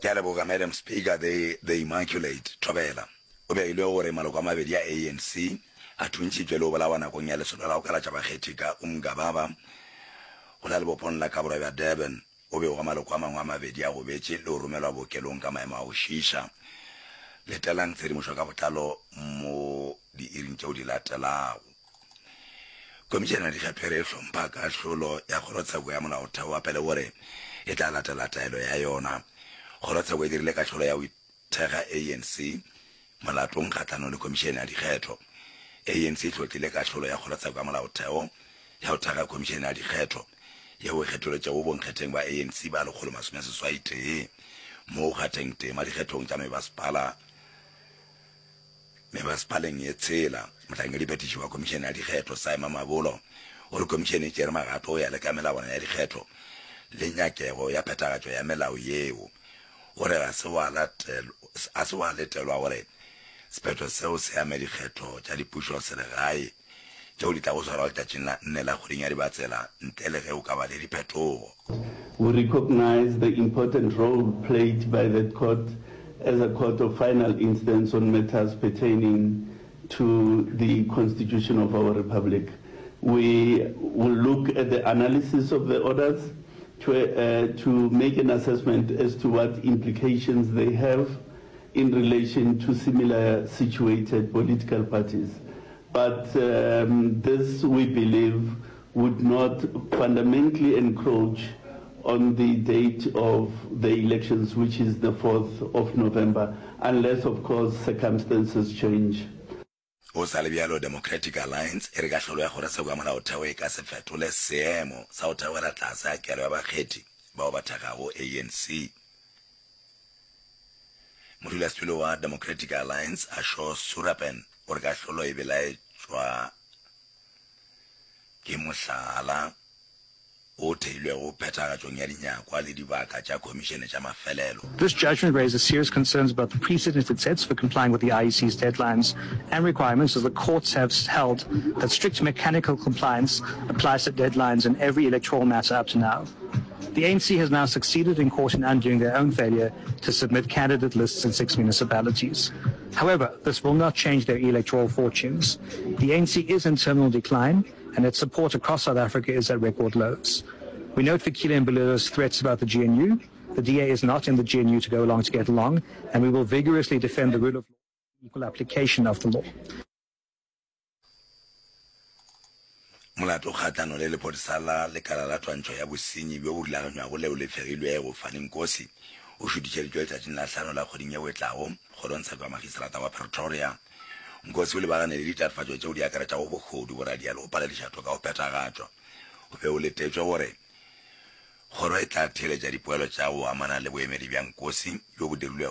Ke a leboga Madam Speaker, the, the Immaculate Thobela. O begilwe gore maloko a mabedi a ANC a thuntšhitšwe le go bolawa nakong ya lesolo la go kalatša bakgethi ka Umgababa go la lebopong la ka borwa bja Durban. O begwa maloko a mangwe a mabedi a gobetše le go romelwa bookelong ka maemo a go šiiša. Letelang tshedimošo ka botlalo mo diiring tšeo di latelago. Komišene ya Dikgetho e re e hlompha kahlolo ya Kgorotsheko ya Molaotheo wa pele gore e tla latela taelo ya yona. Kgorotsheko e dirile kahlolo ya go thekga ANC molatong kgahlanong le Khomišene ya Dikgetho. ANC e hlotlile kahlolo ya Kgorotsheko ya Molaotheo ya go thekga Khomišene ya Dikgetho yeo e kgetholotšego bonkgetheng ba ANC ba 181 mo go kgatheng tema dikgethong tša mebasepala Mebasepaleng ye tshela, mohlankediphethiši wa Khomišene ya Dikgetho, Saima Mabolo, o re khomišene e tšere magato go ya le ka melawana ya dikgetho le nyakego ya phethagatšo ya melao yeo. O re ga se wa ga se wa letelwa gore sephetho seo se ame dikgetho tša dipušoselegae tšeo di tlago swarwa letšatšing la nne la kgweding ya Dibatsela ntle le ge go ka ba le diphetogo. We recognise the important role played by that court as a court of final instance on matters pertaining to the constitution of our republic. We will look at the analysis of the orders to, uh, to make an assessment as to what implications they have in relation to similar situated political parties. But um, this, we believe, would not fundamentally encroach on the date of the elections, which is the 4th of November, unless, of course, circumstances change. Go sa le bjalo, Democratic Alliance e re kahlolo ya Kgorotsheko ya Molaotheo e ka se fetole seemo sa go theogela tlase ga kelo ya bakgethi bao ba thekgago ANC. Modulasetulo wa Democratic Alliance, Ashor Surapen, o re kahlolo e belaetšwa ke mohlala o theilwego phethagatšong ya dinyakwa le dibaka tša khomišene tša mafelelo. This judgment raises serious concerns about the precedent it sets for complying with the IEC's deadlines and requirements as the courts have held that strict mechanical compliance applies to deadlines in every electoral matter up to now. The ANC has now succeeded in court in undoing their own failure to submit candidate lists in six municipalities. However, this will not change their electoral fortunes. The ANC is in terminal decline and its support across South Africa is at record lows. We note Fikile Mbalula's threats about the GNU. The DA is not in the GNU to go along to get along, and we will vigorously defend the rule of law and equal application of the law. Molato kgahlano le lephodisa la lekala la twantšho ya bosenyi bjo bo rulaganywago leo le fegilwego, Fani Nkosi, o šutišeditšwe letšatšing la hlano la kgweding yeo e tlago kgorongtsheko ya magistrata wa Pretoria. Nkosi o lebagane le ditatofatšo tšeo di akaretšago bohodu, boradia le go palediša toka go phethagatšwa. Go be go letetšwe gore kgoro e tla theeletša dipoelo tša go amana le boemedi bja Nkosi bjo bo dirilwego.